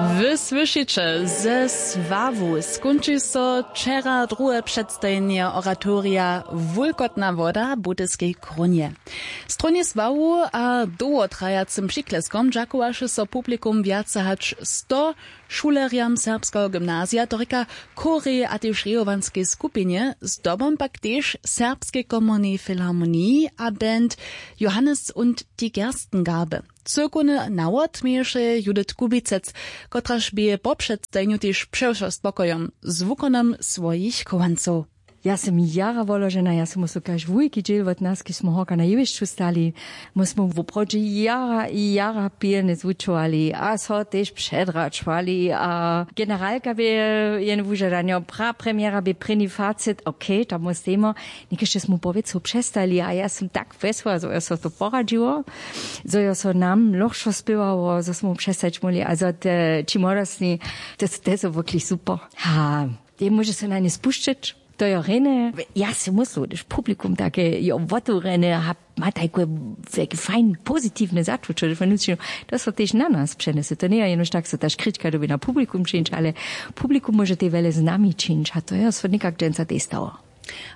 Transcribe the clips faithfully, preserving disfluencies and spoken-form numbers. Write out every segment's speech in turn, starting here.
Wy słyšiće, ze sławu skónči so wčera druhe předstajenje oratorija Wulkotna woda w Budyskej krónje. Stronje sławu a dołhotrajacym přikleskom dźakowaše so publikum wjace hač sto šulerjam serbskeho gymnazija, to rěka chórej a tež rejowanskej skupinje, zdobom pak tež serbskej komornej filharmoniji a band Johannes und die Gerstengarbe. Cyłkowny nawod měješe Judith Kubicec, kotraž bě po předstajenju tež přewšo spokojom z wukonom swojich chowancow. Ja sym jara woložena, ja sym so kaž wulki dźěl wot nas, kiž smy horka na jewišću stali, my smy woprawdźe jara i jara pilnje zwučowali a so tež předračowali a generalka bě jen wužadanjo, pra premjera bě prěni facit, okay, tam móstejmo. Někež smy powěcu přestali a ja sym tak wjesła, zo jo so to poradźiło, zo jo so nam lochšo spěwało, zo smy přestać móhli a zo te ći młodostni, te te so wokli super. Ha, te móže so na nje spušćeć. To jo rjene, ja sej myslu hdyž publikum take jo wotewrjene a ma tajke wjelke fajn pozitiwne začuće, to so tež na nas přenjese, to njeje jenož tak so ta škrička dyrbi na publikum čińć, ale publikum móže te wjele z nami čińć a to jo so někak dźensa tež stało.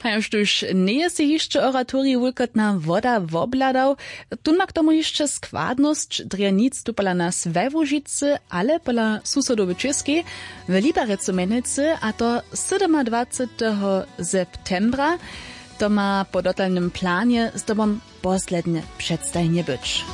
A jož tuž njeje sej hišće oratorij Wulkotna woda wobhladał, tón ma k tomu hišće składnosć drje nic tu pola nas we Łužicy, ale pola susodow w Čěskej, w Liberecu mjenujcy, a to sydomadwaceteho septembra. To ma po dotalnym planje zdobom poslednje předstajenje być.